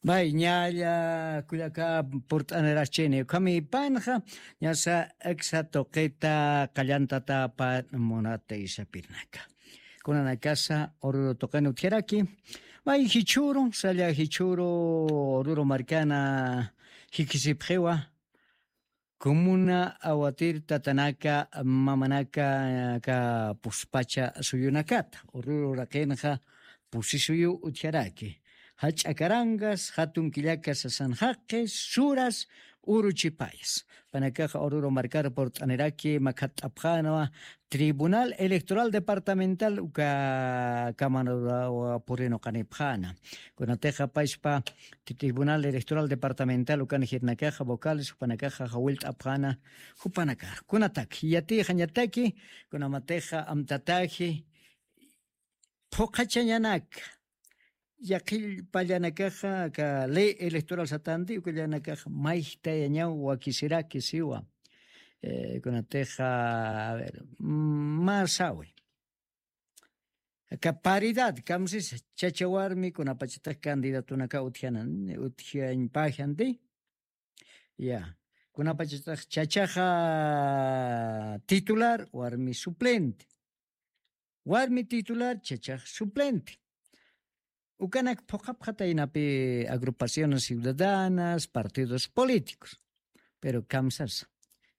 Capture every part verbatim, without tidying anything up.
Bay, ñalla kullaka purt'anirachini, ukhami panxa ñasa iksa tuqita qallantatapa munata isapirnaka. Kunanakasa Oruro tuqin utjaraki. Bay, jichhuru, salla jichhuru, Oruro markana jikisipxiwa. Kumuna awatir tatanaka mamanaka ka puspacha suyunakata, Oruro raqinxa pusi suyu utjaraki. Jach'a karangas, jatun killaka sasan jaqis, suras, uruchipayas. Panakaxa Oruro markar purt'aniraki makhatt'apxanwa, Tribunal Electoral Departamental uka kamanurawa purinu qanipxana. Kunatixa payspa Tribunal Electoral Departamental ukan jirnakaxa vocales jupanakaxa jawillt'apxana jupanakax. Kunatak yatixañataki, kunamatixa amtataji phuqhachañanaka, yaqhillpallanakaxa ka ley electoral satanti ukallanakaxa mayjtayañaw wakisiraki siwa. Eh, kunatixa, a ver, mm, mä sawi. Ka paridad, kamsis chacha warmi kunapachatix candidatunaka utjana, utjañpajanti. Ya, kunapachatix chachaxa titular, warmi suplente. Warmi titular, chachax suplente. Ukanak phuqhapxataynapi agrupaciones ciudadanas, partidos políticos. Pero kamsasa.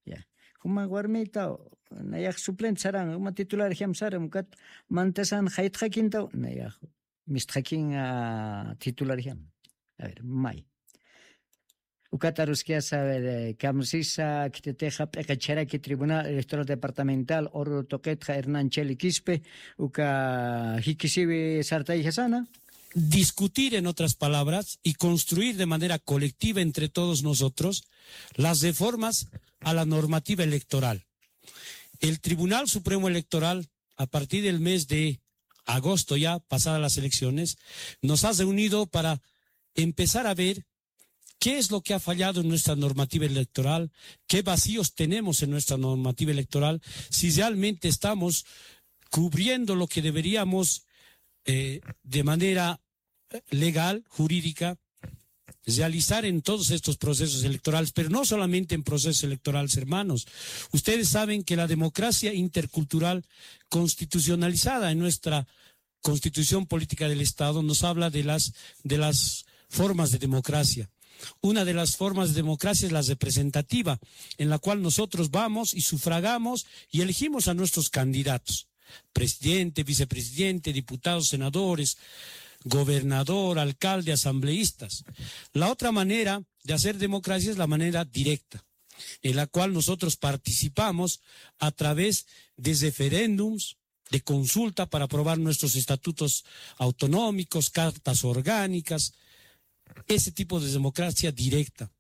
Ya. Juma warmita, nayax suplente saran, juma titular jam saran, ukat mantasan jaytxakintaw, nayax mistxakin, ah, titular jam. A ver, may. Ukat aruskiyasa, a ver, eh, kamsisa, khititixa p'iqicharaki Tribunal Electoral Departamental Oruro tuqitxa Hernán Cheli Quispe, uka jikisiwi sartayjasana. Discutir, en otras palabras, y construir de manera colectiva entre todos nosotros las reformas a la normativa electoral. El Tribunal Supremo Electoral, a partir del mes de agosto, ya pasadas las elecciones, nos ha reunido para empezar a ver qué es lo que ha fallado en nuestra normativa electoral, qué vacíos tenemos en nuestra normativa electoral, si realmente estamos cubriendo lo que deberíamos, eh, de manera, eh, legal, jurídica, realizar en todos estos procesos electorales, pero no solamente en procesos electorales, hermanos. Ustedes saben que la democracia intercultural constitucionalizada en nuestra Constitución Política del Estado nos habla de las, de las formas de democracia. Una de las formas de democracia es la representativa, en la cual nosotros vamos y sufragamos y elegimos a nuestros candidatos, presidente, vicepresidente, diputados, senadores, gobernador, alcalde, asambleístas. La otra manera de hacer democracia es la manera directa, en la cual nosotros participamos a través de referéndums, de consulta para aprobar nuestros estatutos autonómicos, cartas orgánicas, ese tipo de democracia directa.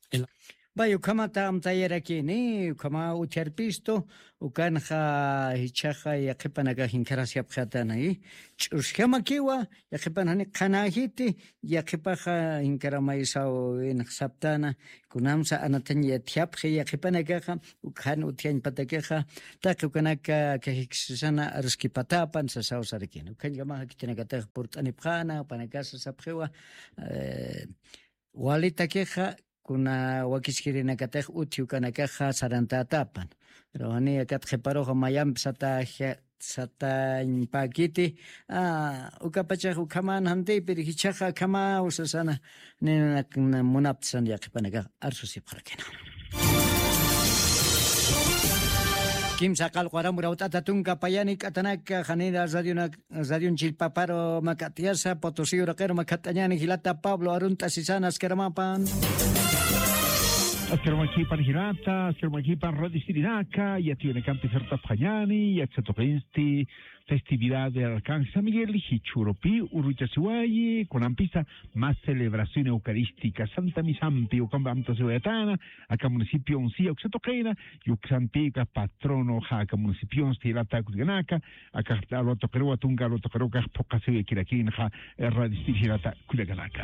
En la Vay, ukhamata amtayarakini, ukhama utjarpistu, ukanxa jichhaxa yaqhipanakax inkharasyapxatana, i ch'usjamakiwa, yaqhipan jani qhanäjiti, yaqhipaxa inkharamaysaw inxsaptana, kunamsa anatañ yatjapxi yaqhipanakaxa, ukhan utjañpatakixa, taqi ukanaka kajiksisana aruskipatapan sasaw sarakini. Ukhañkamaxa khitinakatax purt'anipxäna, panakasa sapxiwa, eh, walitakixa, kuna wakiskirinakatax utji ukanakaxa sarantätapan. Pero janiya kat qhiparuxa mayampi sataja-, satañpäkiti, ah, ukapachax ukhaman jantïpir jichhaxa akhamaw sasana, ninak munaptisan yaqhipanakax arsusipxarakina. Kimsa qallqu aram urawt'ata tunka payani k'atanaka janira radionak-, radion chillpaparu makat'yasa, Potosiyu raqir makat'añani jilata Pablo Arunt'a Sisana askaramapan. Askaramakipan jilata, askaramakipan radiostirinaka, yatiyunakampi sartapxañani, yaksa tuqinsti festividad de Arcángel San Miguel, jichhurupi uruchasiwayi, kunampisa mä celebración eucarística, Santa Misampi, ukampi amtasiwayatana, aka municipionsi, uksa tuqina, yuksampika patronoxa aka municipionsti jilata kullkanaka, aka alwa tuqiruwa, tunka alwa tuqirukax phuqasiwayakirakinxa, eh, radiostirinaka jilata kullkanaka.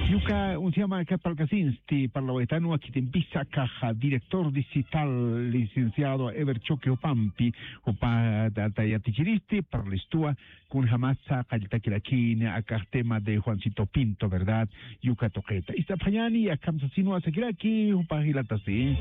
Yuka unsiyama aka parlkasinsti, parlawaytanwa khitimpisa akaxa director digital licenciado Ever Choque jupampi, jupa yatichiristi, parlistuwa, kunjamasa qalltakirakini akax tema de Juancito Pinto, ¿verdad? Yuka tuqita. Ist'apxañani, akham sasinwa sakiraki, jupa jilatasi.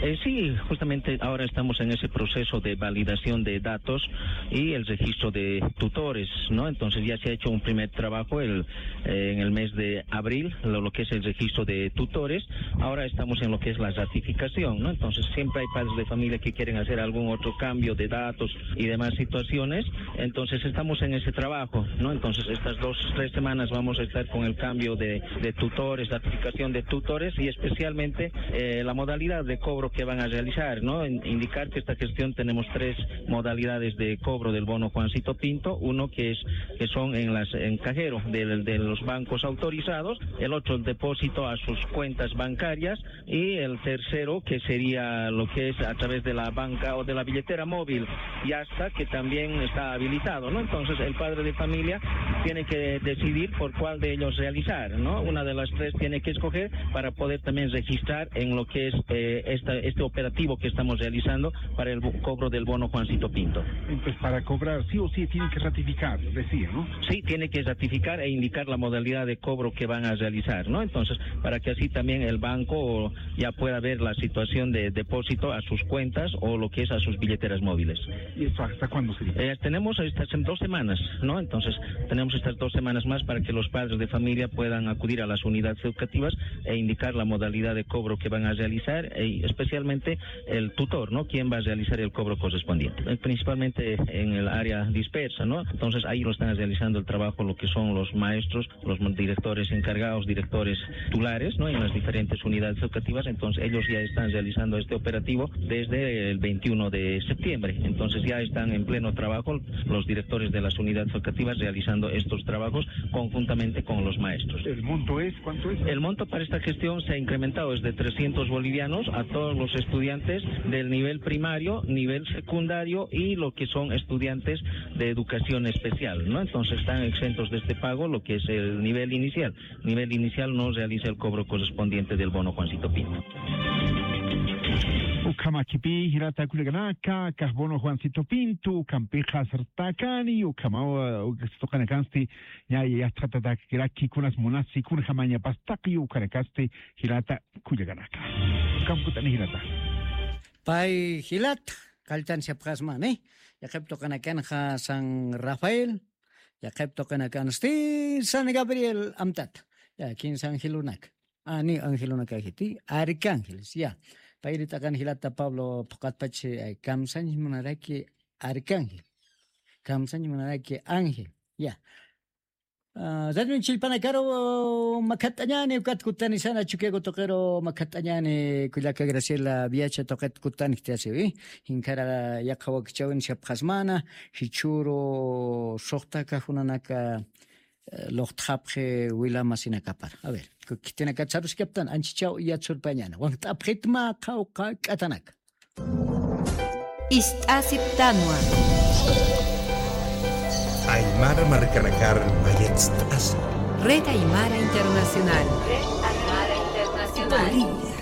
Eh, sí, justamente ahora estamos en ese proceso de validación de datos y el registro de tutores, ¿no? Entonces ya se ha hecho un primer trabajo el, eh, en el mes de abril, lo, lo que es el registro de tutores. Ahora estamos en lo que es la ratificación, ¿no? Entonces siempre hay padres de familia que quieren hacer algún otro cambio de datos y demás situaciones. Entonces estamos en ese trabajo, ¿no? Entonces estas dos, tres semanas vamos a estar con el cambio de, de tutores, la aplicación de tutores y especialmente eh, la modalidad de cobro que van a realizar, ¿no? En- indicar que esta gestión tenemos tres modalidades de cobro del bono Juancito Pinto, uno que es que son en las en cajero del- de los bancos autorizados, el otro el depósito a sus cuentas bancarias y el tercero que sería lo que es a través de la banca o de la billetera móvil, ya está, que también está habilitado, ¿no? Entonces el padre de familia tiene que decidir por cuál de ellos realizar, ¿no? Una de las tres tiene que escoger para poder también registrar en lo que es eh, esta- este operativo que estamos realizando para el bo- cobro del bono Juancito Pinto. Entonces, para cobrar, sí o sí, tienen que ratificar, decía, ¿no? Sí, tiene que ratificar e indicar la modalidad de cobro que van a realizar, ¿no? Entonces, para que así también el banco ya pueda ver la situación de depósito a sus cuentas o lo que es a sus billeteras móviles. ¿Y esto hasta cuándo sería? Eh, tenemos estas en dos semanas, ¿no? Entonces, tenemos estas dos semanas más para que los padres de familia puedan acudir a las unidades educativas e indicar la modalidad de cobro que van a realizar, eh, especialmente el tutor, ¿no? ¿Quién va a realizar el cobro correspondiente? Eh, principalmente en el área dispersa, ¿no? Entonces, ahí lo están realizando el trabajo lo que son los maestros, los directores encargados, directores titulares, ¿no? En las diferentes unidades educativas, entonces ellos ya están realizando este operativo desde el veintiuno de septiembre, entonces ya están en pleno trabajo los directores de las unidades educativas realizando estos trabajos conjuntamente con los maestros. ¿El monto es? ¿Cuánto es? El monto para esta gestión se ha incrementado desde trescientos bolivianos a todos los estudiantes del nivel primario, nivel secundario y lo que son estudiantes de educación especial, ¿no? Entonces están exentos de este pago lo que es el nivel inicial. Nivel inicial no realiza el cobro correspondiente del bono Juancito Pinto. Ukhamakipi, jilata kullakanaka, akax bono Juancito Pinto, ukampixa sartakani, ukhamawa, ukasituqanakansti, ña, yastxatatakiraki kunas munasi, kunjamañapastaki, ukanakasti, jilata kullakanaka. Ukamkutani jilata. Pay jilata, kalltan siapxasmani, yaqhip tuqanakanxa San Rafael, yaqhip tuqanakansti San Gabriel amtata. Ya, kinsa angelunaka. Ani angelunaka jiti, arcángeles, ya. Payri t'aqan jilata Pablo phuqatpach, eh, kamsañ munaraki arcángel. Kamsañ munaraki ángel, ya. Ah, radio chillpanakaru makhat'añani, ukat kutanisana Chukiyawu tuqiru makhat'añani, kullaka Graciela Viacha tuqit kutanktasiwi. Jinkara yaqha wakichäwin siapxasmana, jichhüru suxta kajunanaka, eh, luqtxapxi wila masinakapar. A ver, ku-, khitinakat saruskaptan, anchichaw yatsurpañäna. Waqt'apxitma qhawqha k'atanaka. Ist'asiptanwa. Aymara markanakar mayatst'asi. Red Aymara Internacional. Red Aymara Internacional. Bolivia.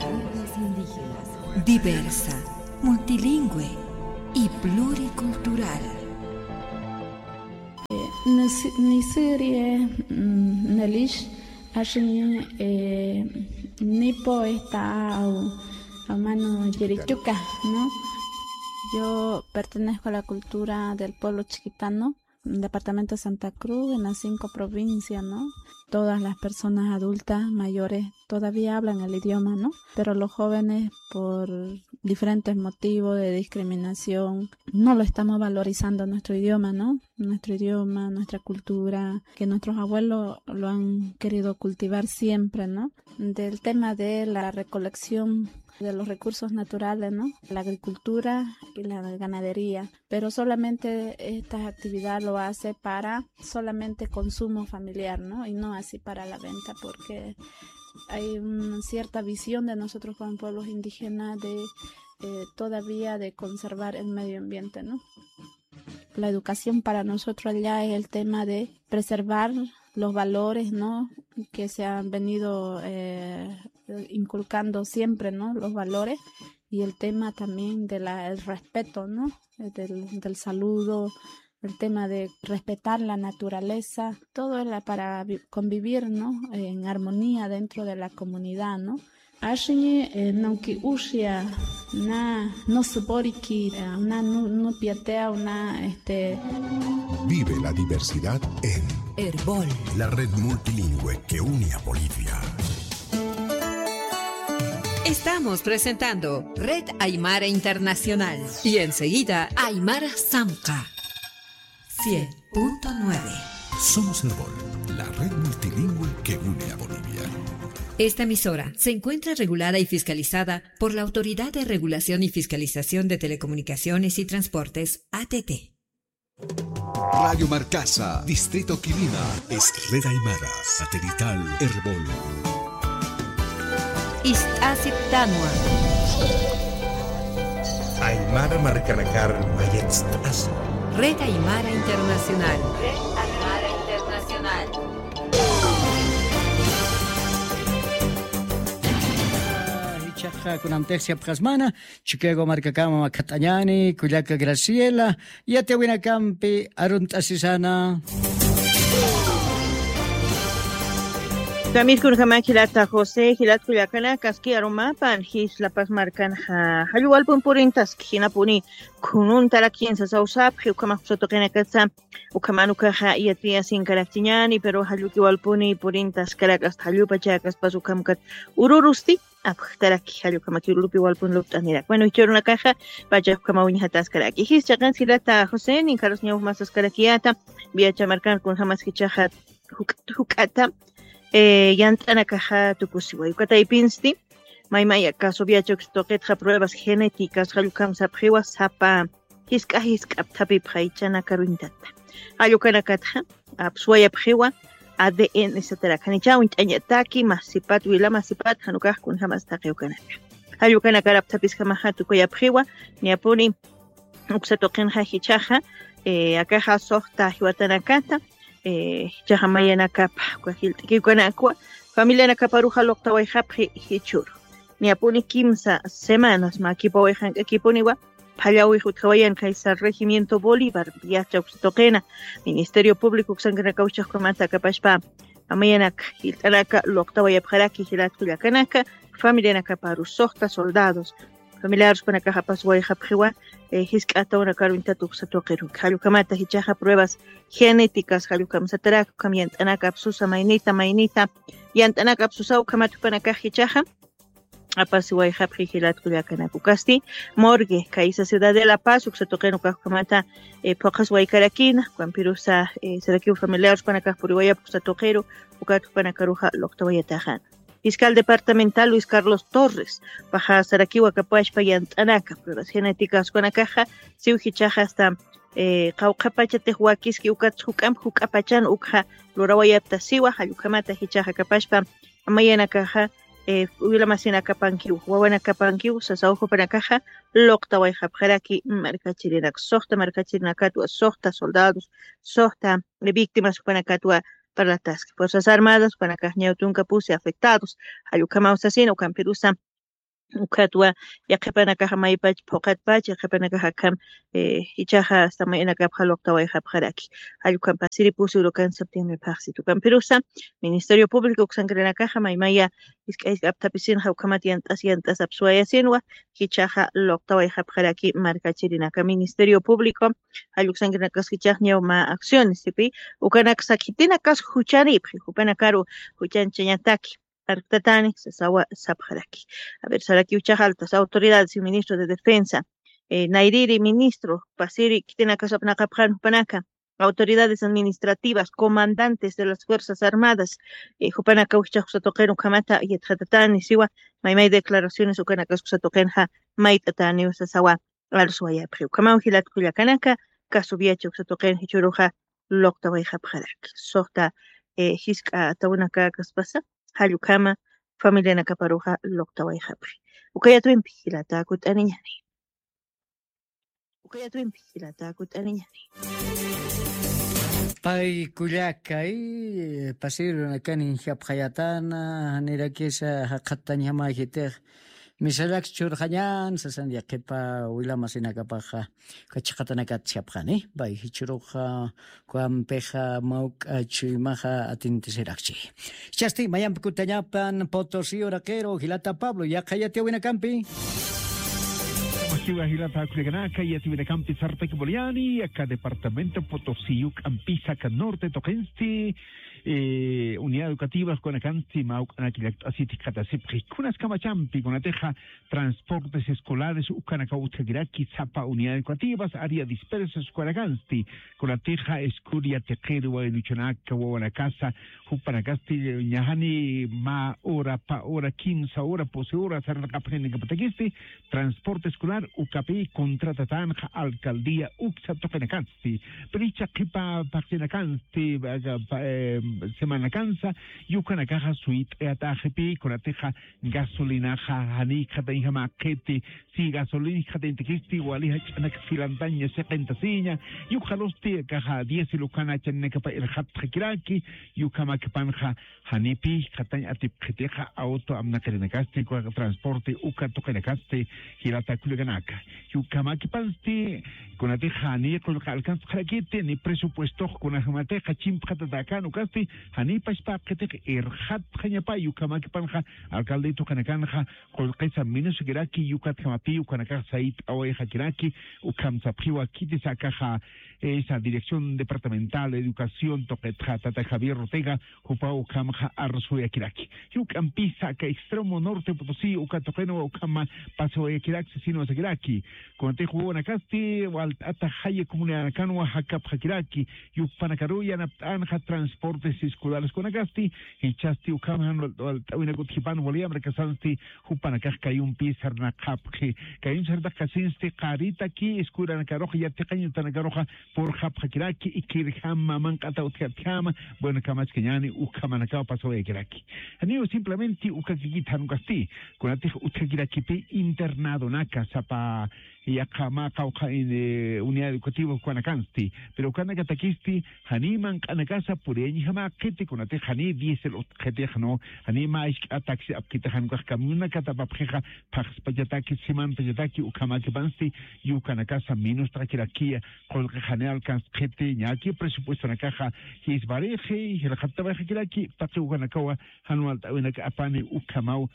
Diversa, multilingüe y pluricultural. Nisi-, nisiri, mm, nelish, ashiña, eh, nipo esta au, au mano yirichuka, ¿no? Yo pertenezco a la cultura del pueblo chiquitano, departamento de Santa Cruz, en las cinco provincias, ¿no? Todas las personas adultas, mayores, todavía hablan el idioma, ¿no? Pero los jóvenes, por diferentes motivos de discriminación, no lo estamos valorizando nuestro idioma, ¿no? Nuestro idioma, nuestra cultura, que nuestros abuelos lo han querido cultivar siempre, ¿no? Del tema de la recolección de los recursos naturales, ¿no? La agricultura y la ganadería. Pero solamente estas actividades lo hace para solamente consumo familiar, ¿no? Y no así para la venta, porque hay una cierta visión de nosotros como pueblos indígenas de, eh, todavía de conservar el medio ambiente, ¿no? La educación para nosotros allá es el tema de preservar los valores, ¿no? Que se han venido eh, inculcando siempre, ¿no? Los valores y el tema también de la, el respeto, ¿no? Del, del saludo, el tema de respetar la naturaleza, todo es la- para vi- convivir, ¿no? En armonía dentro de la comunidad, ¿no? Ashiñi, eh, nunki ushia, na, no supori ki, eh, una nu- nupiatea, una, este, Vive la diversidad en Erbol, la red multilingüe que une a Bolivia. Estamos presentando Red Aymara Internacional y enseguida Aymara Samka. Cien punto nueve. Somos Erbol, la red multilingüe que une a Bolivia. Esta emisora se encuentra regulada y fiscalizada por la Autoridad de Regulación y Fiscalización de Telecomunicaciones y Transportes, A T T. Radio Marcasa, Distrito Quilima, es red aymara, satelital Erbol. Ist'asiptanwa. Aymara markanakar mayatst'asu. Red Aymara Internacional. Red Aymara Internacional. Ichaqa kunamtix yapxasmana, Chicago markakama makhat'añani, kullaka Graciela, yatiyawinakampi arunt'asisana. Kamir kunjama jilata José, jilat kullakana, kaski arumapan, jis La Paz markan ja, jalluwalpun purintaski, jinapuni kununtarak jinsa sawsapxi, ukhama jusa tuqinakatsa, ukhaman ukaxa yatiyasinkarakchiñani, pero jallukiwalpuni purintaskarak, hasta jallupa chakaspas ukhamkat ururusti, apxtaraki, jallukhamaki lupi walpun lupt'anirak. Bueno, jichhürunakaxa, pacha ukhama uñjataskaraki. Jis chaqan jilata José, ninkarus ñawjmasaskarakiyata, viacha markan kunjamas jichhaxa juk'at, juk'ata, eh, yant'anakaxa tukusiway. Uka taypinsti, maymaya caso viacha uksa tuqitxa pruebas genéticas, jallukham sapxiwa sapa, jisk'a jisk'a apthapipxa jichhanakaruñtata. Jallukanakatxa, apsuwayapxiwa, A D N satarak. Janicha uñt'añataki, masipat, wila masipat, jan ukax kunjamas taqi ukanaka. Jallukanakar apthapisjamaxa tukuyapxiwa, niyapuni uksa tuqinxa jichhaxa, eh, akaxa suxta jiwatanakata, eh, jichhaxa mayanakapa, uka jilt'ki ukanakwa, familianakaparuxa luqtawayxapxi jichhüru. Niyapuni kimsa semanas mä kipawayxank'akipuniwa, phallawix utjawayan kaysa Regimiento Bolívar, viacha uksa tuqina, Ministerio Público uksankanakaw jichhax ukhamata akapaspa, amayanak, jilt'anaka, luqtawayapxaraki jilat kullakanaka, familianakaparu suxta soldados, familiares jupanakax apasuwayxapxiwa, eh, jisk'a atawnakaruntat uksa tuqiru. Jallukhamata jichhaxa pruebas genéticas, jallukham satarak, ukham yant'anaka apsusa maynita, maynita, yant'anaka apsusa ukhamat jupanakax jichhaxa, apasiwayxapxi jilat kullakanaka. Ukasti, morgue, kaysa ciudad de La Paz, uksa tuqin ukax ukhamata, eh, phuqhaswaykarakina, ukampirusa, eh, sarakiw familiares jupanakax puriwayapxi uksa tuqiru, ukat jupanakaruxa luqtawayataxana. Fiscal departamental Luis Carlos Torres, paxa sarakiw akapaspa yant'anaka, pruebas genéticas jupanakaxa, siw jichhaxa hasta, eh, qawqha pachatix wakiski ukat juk'amp juk'a pachan ukxa lurawayapta siwa, jallukhamata jichhaxa akapaspa, amayanakaxa, eh, wila masinakapankiw, wawanakapankiw, sasaw jupanakaxa, luqtawayxapxaraki markachirinak, suxta markachirinakatwa, suxta soldados, suxta, eh, víctimas jupanakatwa parlataski. Fuerzas Armadas jupanakax ñaw tunka pusi afectados, jallukhamaw sasina, ukampirusa, ukatwa, yaqhipanakaxa maypach, phuqatpach, yaqhipanakaxa akham, eh, jichhaxa, hasta mayanakapxa luqtawayxapxaraki. Jallukhampa siri pusi urukan septiembre phaxsit. Ukampirusa, Ministerio Público uksankirinakaxa, maymaya, jisk'a jisk'a apthapisinxa, ukhamat yant'as, yant'as apsuwayasinwa, jichhaxa luqtawayxapxaraki markachirinaka. Ministerio Público, jalluksankirinakax jichhax ñaw mä acciones, sipi, ukanaksa khitinakas juchanipxi, jupanakaru juchanchañataki. Arktatani, sasawa sapxaraki. A ver, sarakiw jichhax altas autoridades y ministro de defensa, eh, nayrïri ministro, pasiri, khitinakas apnaqapxan jupanaka, autoridades administrativas, comandantes de las Fuerzas Armadas, eh, jupanakaw jichhax uksa tuqin ukhamata yatxatatani, siwa, maymay declaraciones ukanakas uksa tuqinxa mayt'ataniw sasawa, arsuwayapxi. Ukhamaw jilat kullakanaka, caso viacha uksa tuqin jichhüruxa luqtawayxapxaraki. Suxta, eh, jisk'a atawnakaspasa, jallukhama familianakaparuxa luqtawayxapxi. Ukayatwimpi jilata kut'aniñani. Ukayatwimpi jilata kut'aniñani. Pay kullakay, pasirunakanin japxayatana, nirakisa jaqhattañjama jitix, misallak churxañan sasan yaqipa wilamasinakapaxa, kachaqatanakat japxani, pay jichuruxa, kuampixa, mawk'a chuymaxa atintisirakchi. Chasti, mayampi kutañapan, Potosí uraqiru, jilata Pablo, yaqha yatiyawinakampi. Masiwa jilata kullakanaka, yatiyawinakampi sartaki Boliani, aka departamento Potosí, uk'ampisa aka norte tuqinsti, eh, unidad educativa, kunakansti, mawk'anaki llakt'asiti katasipxi, kunas kamachampi, kunatixa, transportes escolares, ukanaka utjakiraki, sapa unidad educativas, área dispersas, kunakansti, kunatixa, escuela, tiqiru, waynuchunaka, wawanakasa, jupanakasti, ñajani, ma hora, pa hora, kimsa hora, pusi hora, sarnaqapxinakapatakasti, transporte escolar, ukapi, contratatanxa, alcaldía, uksa tuqinakansti, pricha, qipa, paqsinakansti, pa, pa, eh, semanakansa, yukanakaxa, suyt'ayataxipi, kunatixa, gasolinaxa, jani khatayjama qhiti, si gasolina khataytakisti, wali jach'anak filantaña, siqintasiña, yukxalusti, kaxa, diésel ukana, chaninakapa irxatxakiraki, yukhamakipanxa, janipi, khatañ atipxitixa, auto amnaqirinakasti, kwa transporte, uka tuqinakasti, jilata kullakanaka. Yukhamakipansti, kunatixa, ni qullqa alcanzxarakiti, ni presupuestox, kunajamatixa, chimpxatatakan, ukasti, jani pachpa qhitix, irxatxañapa, yukhamakipanxa, alcalde tuqinakanxa, qullqisa minusakiraki, yukatjamapi, ukanakax sayt'awayxakiraki, ukham sapxiwa, khitisakaxa, esa Dirección Departamental de Educación tuqitxa, tata Javier Ortega, jupa ukhamxa arsuwayakiraki. Yuk'ampisa aka extremo norte Potosí, uka tuqinwa ukhama pasawayakiraki, sasina wasakiraki. Kunatix wawanakasti, walt'ata jaya comunidadanakanwa jakapxakiraki, yukpanakaru yanapt'anxa transportes escolares kunakasti, jichhasti ukham jan wal-, walt'awinak utjipan wali amrakasansti, jupanakax kayumpi sarnaqapxi, kayum sarnaqasinsti, qaritaki, escuelanakaruxa, yatiqañ utjanakaruxa, purxapxakiraki, ikhirjama, manq'ata utjatjama, bueno, kamaskañani, ukhamanakaw pasawayakiraki. Janiw simplemente ukakikit jan ukasti, kunatix utjakirakipi internadonaka, sapa, yaqha mä qawqha in, eh, unidad educativa ukanakansti, pero ukanakatakisti, jani manq'anakasa puriyañjama qhiti, kunatix jani diésel utjxitix, no, jani mä isk'a taxi apkitix, jan ukax camionakata apapxixa, phaxspachataki, simanpachataki, ukhamakipansti, yukanakasa minustxakirakiya, qullqi jani alcanzxiti, ñaki presupuestonakaxa, jisbarixi, jilxattawayxakiraki, taqi ukanakawa, jan walt'awinak apani, ukhamaw,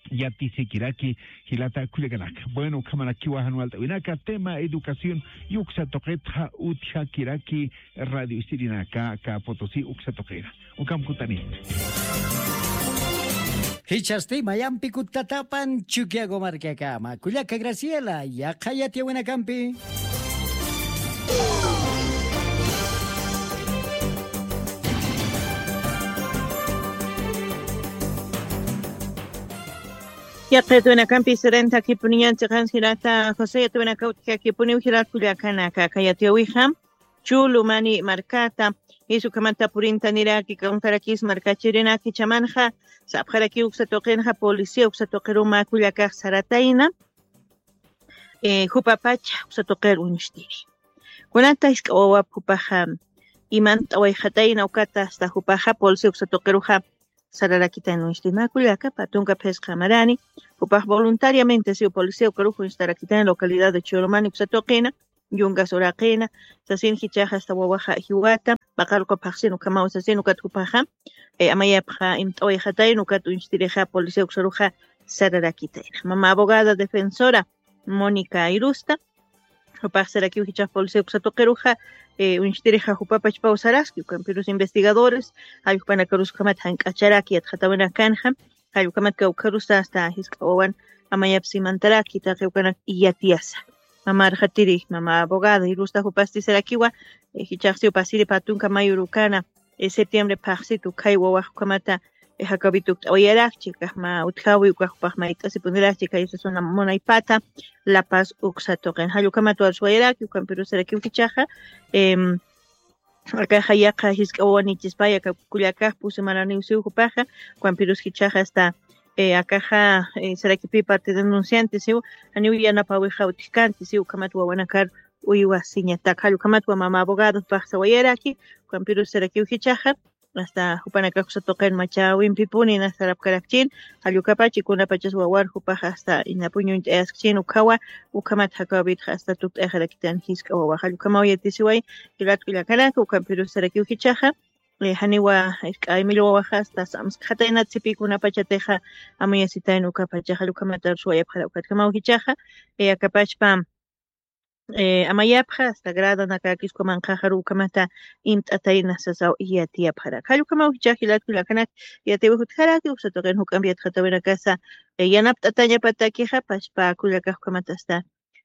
yatisikiraki, jilata kullakanaka. Bueno, ukhamarakiwa jan walt'awinaka, tema educación, yuksa tuqitxa, utjakiraki, radio isirinaka, aka Potosí, uksa tuqira. Ukham kutani. Jichhasti mayampi kutatapan Chukiyawu markakama. Kullaka Graciela, yaqha yatiyawinakampi. Yaqha yatiyawinakampi sirintakipuniñan chiqan jilata José, yatiyawinaka utjakipuniw jilat kullakanaka, aka yatiyawixa. Chulu mani markata, jichha ukhamata purintaniraki, kawntharakis markachirinaki, jichhamanxa, sapxaraki uksa tuqinxa, policía uksa tuqiru mä kullakax saratayna, eh, jupapacha uksa tuqir uñstiri. Kunata jisk'a wawap jupaxa, imant'awayxatayna ukata, hasta jupaxa, policía uksa tuqiruxa, sararakitayna uñstiri. Mä kullaka, pä tunka phisqa marani, jupax voluntariamente, siw policía ukarux uñstarakitayna localidad de Churumani uksa tuqina, yungas uraqina, sasin jichhaxa hasta wawaxa jiwata, paqaruqa phaxsin ukhamaw sasin ukat jupaxa, eh, amayapxa imt'awayxatayna ukat uñstirixa policía uksaruxa sararakitayna. Mama abogada defensora, Mónica Irusta, jupax sarakiw jichhax policía uksa tuqiruxa, eh, uñstirixa jupapachpaw saraski, ukampirus investigadores, jall jupanakarus ukhamat jank'acharaki yatxatawinakanxa, jall ukhamat kawkharusa hasta jisk'a wawan amayapsi imantaraki, taqi ukanak iyatiyasa. Mama arxatiri, mama abogada, Irusta jupasti sarakiwa, eh, jichhaxsiw pasiri pä tunka mayo urukana, eh, septiembre phaxsitu, khay wawax ukhamata, eh, jakawit ukt'awayarakchi, ukax mä utjawi, ukax jupax mayt'asipunirakchi, khay sasuna munaypata, La Paz uksa tuqin. Jall ukhamat arsuwayaraki, ukampirus sarakiw jichhaxa, em, akaxa yaqha jisk'a wawan ichispaya, aka kullakax pusi maraniw siw jupaxa, ukampirus jichhaxa hasta, eh, akaxa, eh, sarakipi parte denunciante siw, janiw yanapawixa utjkanti siw, ukhamat wawanakar uywasiñatak. Jall ukhamatwa mama abogadopax sawayaraki, ukampirus sarakiw jichhaxa, hasta jupanakax uksa tuqin machäwimpipuni inas sarapkarakchin, jall ukapachi kunapachas wawar jupax hasta inapuñ uñt'ayaskchin ukhawa, ukhamat jakawapitxa hasta tukt'ayaxarakitan jisk'a wawax. Jall ukhamaw yatisiway, jilat kullakanaka, ukampirus sarakiw jichhaxa, eh, janiwa, eh, k'aymil wawaxa hasta samskxataynat sipï kunapachatixa amuyasitayn ukapachaxa, jall ukhamat arsuwayapxara ukatjamaw jichhaxa, eh, akapachpa, eh, amayapxa, hasta gradanakakis ukamanqaxaru ukhamata imt'atayna sasaw yatiyapxarak. Jall ukhamaw jichhax jilat kullakanak, yatiwi jutjaraki, uksa tuqin juk'amp yatxatawinakasa, eh, yanapt'atañapatakixa, pachpa kullakax ukhamat hasta,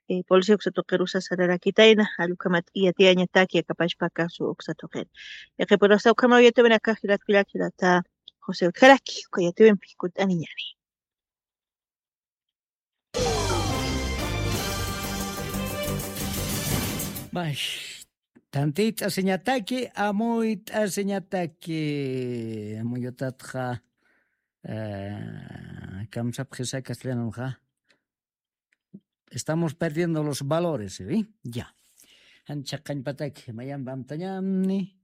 eh, policía uksa tuqirusa sararakitayna, jall ukhamat yatiyañataki akapachpa caso uksa tuqin. Yaqhipurasa ukhamaw yatiwinakax jilat kullak, jilata José utjaraki, uka yatiwimpi kutt'aniñani. Max, tantiyt'asiñataki, amuyt'asiñataki, amuyutatxa, eh, kamsapxisa castellanonxa. Estamos perdiendo los valores, ¿sí? Ya. Jan chhaqañpataki, mayamp amtañamni,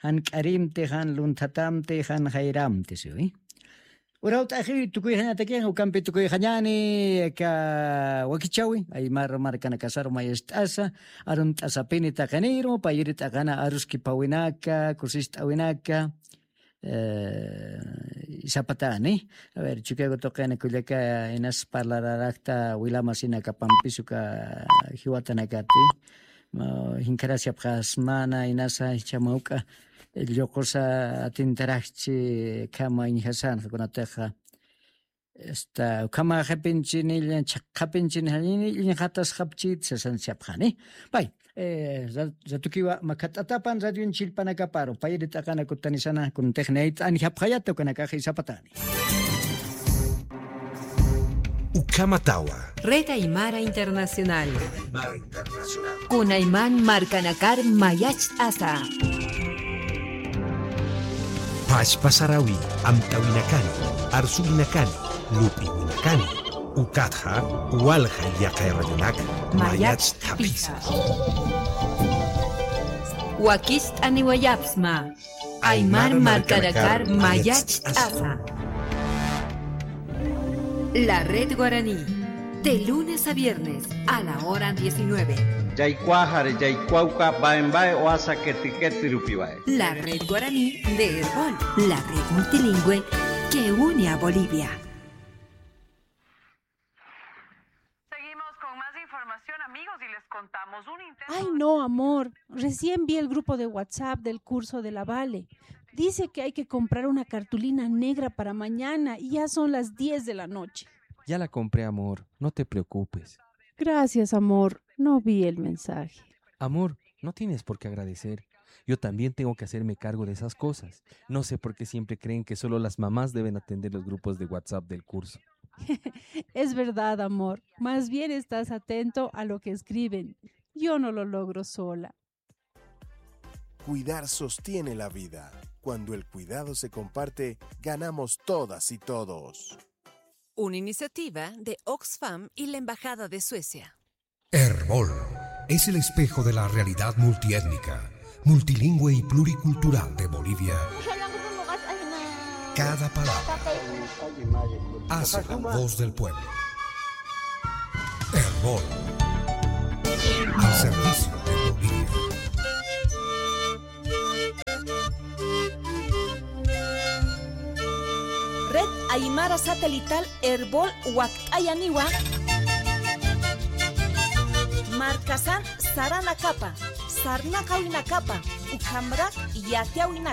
jan k'arimti, jan lunthatamti, jan jayramti, ¿sí? Urawt'axiwi tukuyxañataki, ukampi tukuyxañani, aka wakichäwi, aymar markanakasaru mayacht'asa, arunt'asapini taqiniru, payri t'aqana aruskipawinaka, kusist'awinaka, eh, sapatani. A ver, Chukiyawu tuqina kullaka inas parlararakta wilamasinakapampis uka jiwatanakati. Ma, jinkharasipxasmana inasa jichha mawk'a lluqusa atintarakchi khama iñjasanxa kunatixa. Esta, ukhama qhipinchini, chhaqhapinchini, iñjatasxapchit sasanchapxani. Pay, eh, ra-, ratukiwa makhat'atapan radionchillpanakaparu, payri t'aqana kutanisana, kuntix niyt'anjapxayata ukanakax sapatani. Ukhamatawa. Red Aymara Internacional. Aymara Internacional. Kunayman markanakar mayacht'asa. Pachpa sarawi, amtawinakani, arsuwinakani, lup'iwinakani. Ukatxa, walja yaqay radionak mayacht'apisa. Wakicht'aniwayapxsma. Aymar markanakar mayacht'asa. La Red Guaraní, de lunes a viernes a la hora diecinueve. Yaykuwaxari, yaykuwawka, baen bae, oasa keti ketirupiwae. La Red Guaraní de Erbol, la red multilingüe que une a Bolivia. Seguimos con más información, amigos, y les contamos un intento. Ay, no, amor. Recién vi el grupo de WhatsApp del curso de la Vale. Dice que hay que comprar una cartulina negra para mañana y ya son las diez de la noche. Ya la compré, amor. No te preocupes. Gracias, amor. No vi el mensaje. Amor, no tienes por qué agradecer. Yo también tengo que hacerme cargo de esas cosas. No sé por qué siempre creen que solo las mamás deben atender los grupos de WhatsApp del curso. Es verdad, amor. Más bien estás atento a lo que escriben. Yo no lo logro sola. Cuidar sostiene la vida. Cuando el cuidado se comparte, ganamos todas y todos. Una iniciativa de Oxfam y la Embajada de Suecia. Erbol es el espejo de la realidad multiétnica, multilingüe y pluricultural de Bolivia. Cada palabra hace la voz del pueblo. Erbol, al servicio de Bolivia. Red Aymara Satelital Erbol wakt'ayaniwa. Markasan saranakapa, sarnaqawinakapa, ukhamarak yatiyawinakapa.